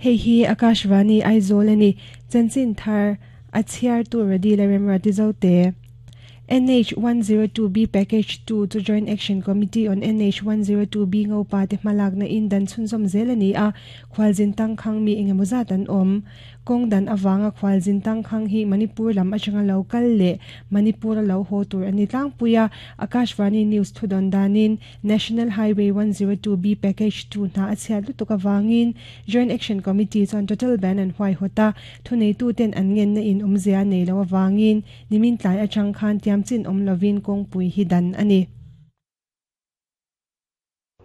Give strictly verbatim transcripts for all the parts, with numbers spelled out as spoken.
Hei hi Akashvani Aizawl ani chanchin thar a chhiar tu radi la remra ti zo te. N H one zero two B Package two to Joint Action Committee on N H one zero two B ngo pa te hmalak na in dan chhunzawm zel ani a khwalzin tangkhang mi engemaw zat an awm kawng dan awanga khwalzin tangkhang hi Manipur lam atanga lo kal leh Manipur a lo haw tur ani tlangpuia Akashvani News thudon danin National Highway one zero two B Package two hna a chhiat lutuk awangin Joint Action Committee chuan total ban an huai hawta thunei tu ten an ngen na in awmzia nei lo awangin nimin tlai atang khan tiam chin om lovin kong pui hi dan ani.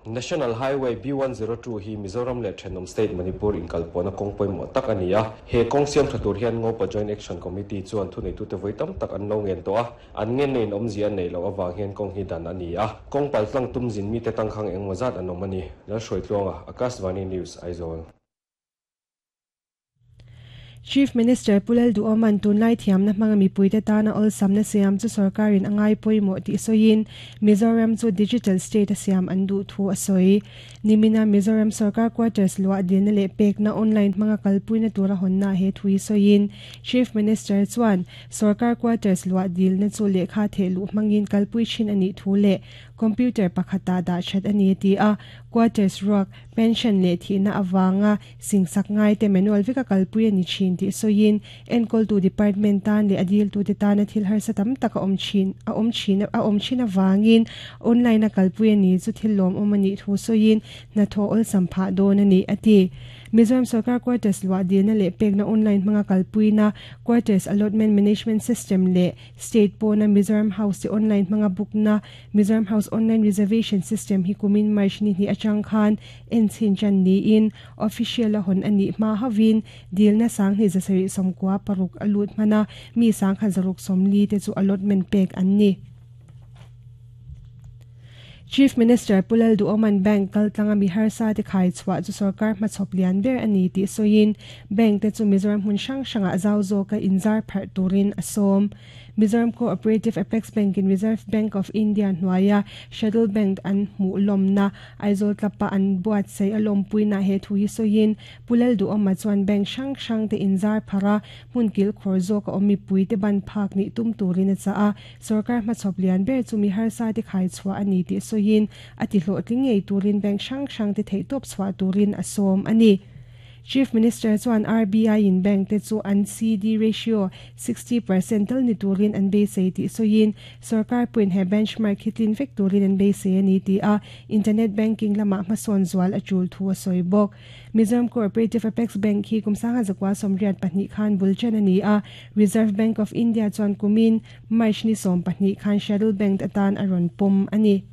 National Highway B one zero two hi Mizoram le Thenawm State Manipur inkalpawna kawng pawimawh tak ani a he kawng siam tha tur hian Ngopa Joint Action Committee chuan thunei tu te voi tam tak an lo ngen tawh a an ngen nei in awmzia nei lo awang hian kawng hi dan ani a kawng pal tlang tum zin mi te tangkhang engmaw zat an awm ani lal hruai tluanga Akashvani News Aizawl. Chief Minister Pulal Duoman tunlai thiamna hmanga mipuite tana ol samna siam chu sarkarin angai pawimawh tih sawiin Mizoram chu digital state a siam an duh thu a sawi. Nimina Mizoram Sarkar Quarters luah dilna leh pekna online hmanga kalpuina tura hawnna he thui sawiin Chief Minister chuan Sarkar Quarters luah dilna chu lehkha thehluh hmangin kalpui thin anih thu leh computer pakhata dah that ani ti a quarters ruak pension leh thihna awanga singsak ngai te manual veka kalpui ani thin ti sawiin enkawl tu department tan leh adil tu te tana thil harsa tam tak a awm thin a awm thin a awm thin awangin online a kalpui ani chu thil lawm awm ani thu sawiin hnathawh awlsam phah dawn ani ati. Mizoram Sarkar Quarters luah dilna leh pekna online hmanga kalpuina Quarters Allotment Management System leh State pawna Mizoram House te online hmanga bookna Mizoram House Online Reservation System hi kumin March ni hnih atang khan en chin chan niin official a hawn ani hma hawin dilna sang hnih zasarih sawmkua paruk a lut hmana mi sangkhat zaruk sawmli te chu allotment pek an ni. Chief Minister Pulal Duoman Bank kaltlanga mi harsa te khai chhuah chu sarkar hmachhawp lian ber ani tih sawiin bank te chu Mizoram hmun hrang hrangah zau zawka inzar pharh turin a sawm. Mizoram Cooperative Apex Bank in Reserve Bank of India hnuaia Shuttle Bank an hmuh lawmna Aizawl tlapa an buat sei a lawmpuina he thu hi sawiin Pulal Duoma chuan bank hrang hrang te inzar phara hmun kil khawr zawk a awm mipui te ban phak nih tum turin a chah a sarkar hmachhawp lian ber chu mi harsa te khai chhuah ani tih sawiin a ti hlawhtling ngei turin bank hrang hrang te theihtawp chhuah turin a sawm ani. Chief Minister chuan R B I in bank te chu an C D ratio sixty percent tal ni turin an beisei tih sawiin sarkar puin he benchmark hitlin vek turin an beisei ani ti a internet banking lama hmasawn zual a tul thu a sawi bawk. Mizoram Cooperative Apex Bank hi kum sangha zakwa sawmriat pahnih khan bul chen ani a Reserve Bank of India chuan kumin March ni sawm pahnih khan Shuttle Bank atan a rawn pawm ani.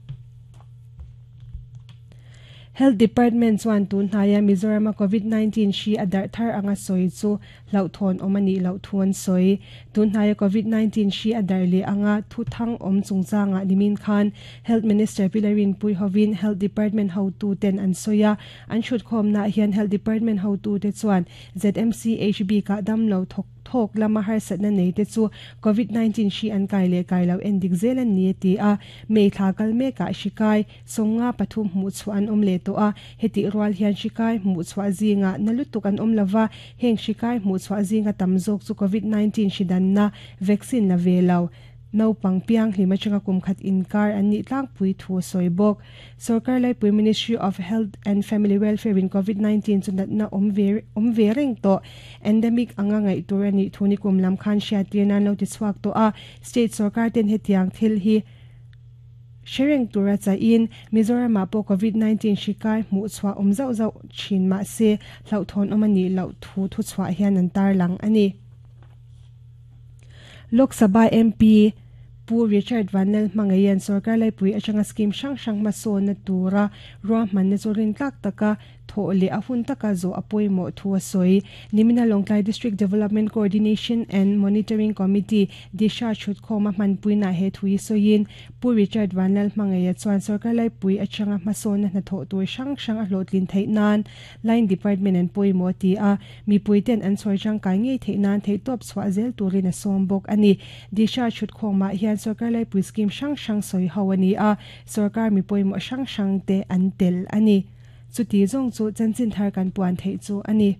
Health Department chuan tun hnaiah Mizoram a COVID nineteen hri a darh thar anga sawi chu hlauhthawn awm ani loh thu an sawi. Tun hnaiah COVID nineteen hri a darh leh anga thu thang awm chungchangah nimin khan Health Minister Pilarin Puihovin Health Department hotu ten an sawi a an thut khawmna hian Health Department hotu te chuan Z M C H B ka dam lo thawk thawk lama harsatna nei te chu COVID nineteen hri an kai leh kai lo endik zel an ni ti a mei thla kal mekah hri kai sawmnga pathum hmuh chhuah an awm leh tawh a heti rual hian hri kai hmuh chhuah zinga na lutuk an awm lova heng hri kai hmuh chhuah zinga tam zawk chu COVID nineteen hri danna vaccine la ve lo naupang piang hlima changa kum khat inkar an nih tlangpui thu a sawi bawk. Sarkar Laipui Ministry of Health and Family Welfare in COVID nineteen chu natna awm ve awm ve reng tawh endemic anga ngaih tur ani thu ni kum lam khan hriat tir nan lo ti chhuak tawh a state sarkar ten hetiang thil hi Sharing tura cha in Mizoram ah pawh COVID nineteen hri kai hmuh chhuah awm zauh zauh thin mah se hlauhthawn awm ani loh thu thu chhuah hian an tar lang ani. Lok Sabha M P Pu Richard Vanlal hmangaian sarkar laipui atanga scheme hrang hrang hmasawn na tura ruahmanna chu rin tlak taka thawh leh a hun taka zawh a pawimawh thu a sawi. Nimina Lawngtlai District Development Coordination and Monitoring Committee Disha Chhutkhawma hmanpuina he thu hi sawiin Pu Richard Vanlal hmangaia chuan sarkar laipui atanga hmasawn na hnathawh tur hrang hrang a hlawhtlin theih nan line department an pawimawh ti a mipui ten an chhawr tangkai ngei theih nan theihtawp chhuah zel turin a sawm bawk ani. Disha Chhutkhawma hian sarkar laipui scheme hrang hrang sawi ho ani a sarkar mi pawimawh hrang hrang te an tel ani. Chuti zawng chu chanchin thar kan puan theih chu ani.